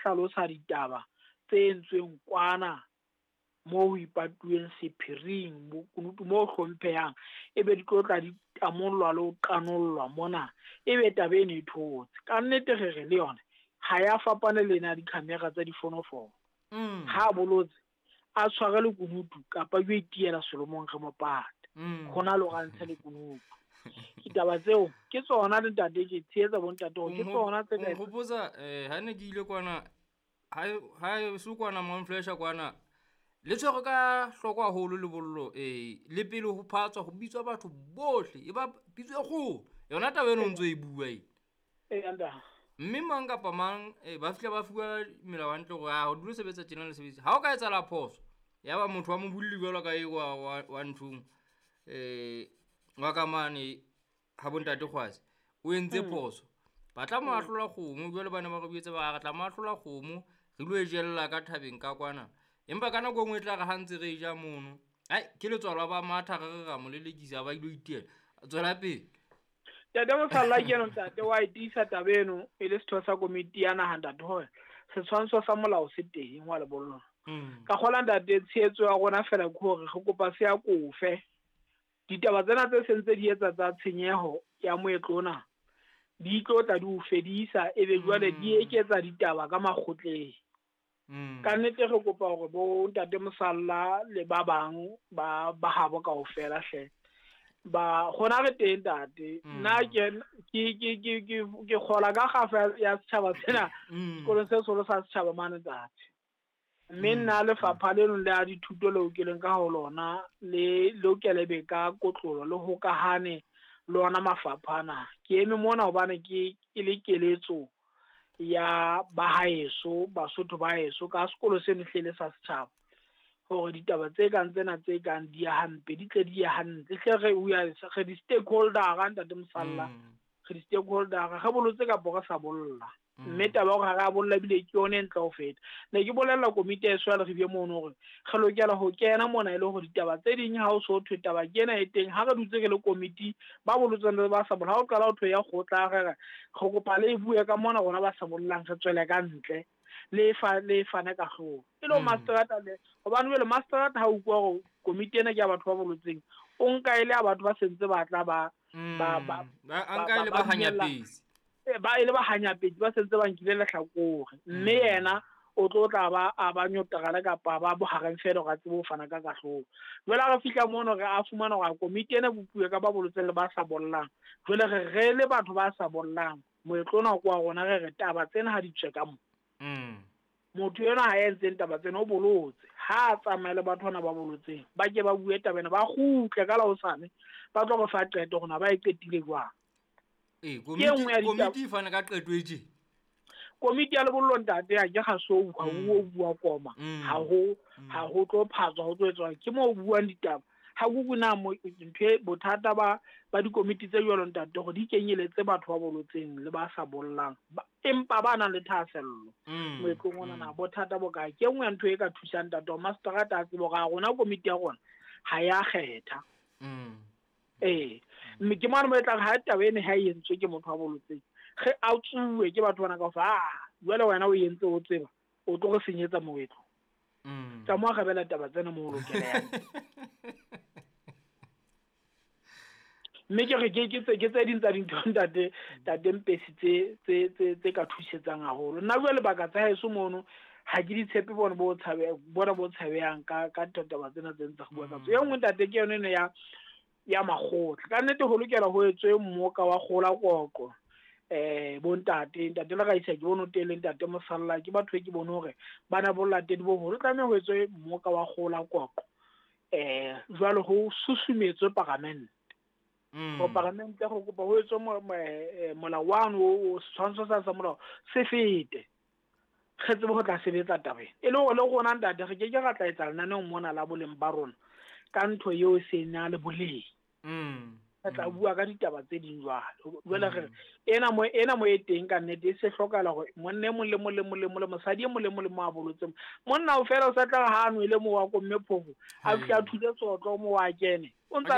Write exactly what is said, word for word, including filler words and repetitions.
hlalosa ditaba tse entsweng kwana moo ho ipatuweng sephiring, bokunutu moo hlomphehang, ebe di tlo tla di tamollwa le ho qanollwa mona, ebe taba eno e thotse. Ka nnete re re le yona ha ya fapane le ena di-camera tsa difonofono. Mm. Ha a bolotse a tshware lekunutu kapa yo itiela selomong re mo pate. Mm. Hona le hore a ntshe lekunutu. Ditaba tseo ke tsona le ntate, ke tshehetsa bo ntate hore ke O tsona tse ka o nkgopotsa, eh, ha ne ke ile kwana, ha e, ha e so kwana Mount Fletcher kwana, le tshwere ka hloko haholo lebollo, eh, le pele ho phatswa ho bitswa batho bohle, e ba pitso e kgolo. Yona taba eno o ntso e bua e. Ee, ntate. Mme mang kapa mang, eh, ba fihla ba fuwa melao hantle hore, ah, o dule sebetsa tjena le sebetsa. Ha o ka etsahala phoso, ya ba motho wa mobolli jwalo ka eo wa, wa, wa nthong, eh, wa ka mane ha bo ntate Kgwase, o entse Mm. phoso. Ba tla mo ahlola kgomo, jwale ba ne ba re buetse ba re tla mo ahlola kgomo, re lo e jella ka thabeng ka kwana. Empa ka nako e nngwe e tla re ha ntse re e ja mono, ai, ke letswalo ba matha re re ra mo lelekisa, ba ilo itiela. Tswela pele. Ntate Mosalla ke eno ntate wa e tiisa taba eno e le setho sa komiti ya naha ntate hore setshwantsho sa molao se teng wa lebollo. Mm. Ka kgola ntate tshehetso ya rona fela ke hore re kopa se ya kofe. Ditaba tsena tse sentse di etsa tsa tshenyeho ya moetlo ona di tlo tla di o fedisa, ebe jwale di Mm. eketsa ditaba ka makgotleng. Mm. Ka nnete re kopa hore bo ntate Mosalla le ba bang ba, ba habo kaofela hle. Ba gona re teng ntate. Mm. Nna ke, ke, ke, ke, ke, ke kgola ka kgafa ya setjhaba sena, Mm. sekolong se seholo sa setjhaba mane ntate. Mme Mm. nna lefapha leno le a dithuto leo ke leng ka ho lona, le lokele be ka kotlolo le hokahane le ona mafapha ana. Ke eme mona hobane ke, ke le keletso ya ba haeso, Basotho ba haeso ka sekolo seno hlele sa setjhaba, hore ditaba tse kang tsena tse kang di ya hampe, di tle di ye hantle. Hle re, we are, re di-stakeholder-a, ntate Mosalla. Mm. Re di-stakeholder-a, re bolotse kapa re sa bolla. Mm. Mme taba ya hore ha re a bolla ebile ke yone e ntle ho feta. Ne ke bolella komiti ya heso ya Leribe mono hore re lokela ho kena mona e le hore ditaba tse ding ha o so thwe taba ke ena e teng, ha re dutse re le komiti ba bolotseng le ba sa bollang, ha o qala ho thwe ya kgotla, re re, re kopa le e bue ka mona rona ba sa bollang, re tswele ka ntle, le fa, le fane ka hlooho. E le ho Mm. masterata le, hobane jwale masterata ha o utlwa hore komiti ena ke ya batho ba bolotseng, o nka e le ya batho ba sentse ba tla ba, ba, ba, Mm. Ba, a ba, nka e le ba ba dumella. hanyapetsi. Eh, ba e le ba hanyapetsi, ba sentse ba nkile lehlakore. Mme Mm. yena o tlo tla ba a ba nyotarale kapa ba bohareng fela hore a tsebe ho fana ka kahlolo. Jwale ha re fihla mono re a fumana hore komiti ena e bopuwe ka ba bolotseng le ba sa bollang. Jwale re re le batho ba sa bollang, moetlo ona ke wa rona, re re taba tsena ha di tswe ka mo. Mm. Motho enwa ha entseng taba tsena o bolotse, ha a tsamaye le batho bana ba bolotseng, ba ke ba bue taba ena, ba kgutle ka la hosane, ba tlo re fa qeto hore na ba e qetile jwang. Ee, Ke e komiti, nngwe ya ditaba. komiti e fana ka qeto e tje. Komiti ya lebollo ntate, ha ke ga so ha Mm. o bua koma, Mm. ha ho, Mm. ha ho tlo phatswa, ho tlo etswa. Ke moo o buang ditaba. Ha kuku na mo, ntho e bothata ba, ba dikomiti tse jwalo ntate, hore di kenyeletse batho ba bolotseng le ba sa bollang, ba, empa ba nang le thahasello Mm. moetlong ona na, Mm. bothata bo kae? Ke e nngwe ya ntho e ka thusang ntate hore masterata a tsebe hore a rona komiti ya rona ha ya kgetha. Mm. Ee, mme ke mane mo e tlang ha taba ena ha e entswe ke motho wa bolotseng, ge a tsuwe ke batho bana kaofela, ah, jwale wena o entse o tseba, o tlo re senyetsa moetlo. Mm. Tsa mo arabela taba tsena mo o lokelang. Mme ke re ke, ke tse, ke tse ding tsa dintho ntate, ntate Mpesi tse, tse, tse, tse ka thusetsang haholo. Nna jwale lebaka tsa heso mono ha ke di tshepe bona bo tshabe, bona bo tshabehang ka, ka taba tsena tse ntse re bua ka tsona. E nngwe ntate ke yone ena ya, ya makgotla. Ka nnete ho lokela ho etswe mmoka wa kgola koko. Eh, bo ntate, ntate le Raisa ke bone o teng, le ntate Mosalla ke batho e ke bone hore ba na bolatedi bo boholo. Tlameha ho etswe mmoka wa kgola koko. Eh, jwale ho susumetswe paramente. Mm. Ho paramente go kopa ho etswe mo-, mo-, eh, molao wa no, o setshwantsho sa, sa molao se fete. Re tsebe ho tla sebetsa taba ena. E le hore le rona ntate re ke ke ra tla etsa lenaneo mona la boleng ba rona ka ntho eo e seng na le boleng. Mm. Re tla Mm. bua ka ditaba tse ding jwalo. Jwale re Mm. ena mo, ena mo e teng ka nnete e se hlokahala hore monna e mong le mong le mong le mong le mosadi e mong le mong le mong a bolotseng. Monna o fela o sa tla ha a nwele moo wa ko mme phofo, a Hai. fihle a thule tsotlo moo a kene. O ntsa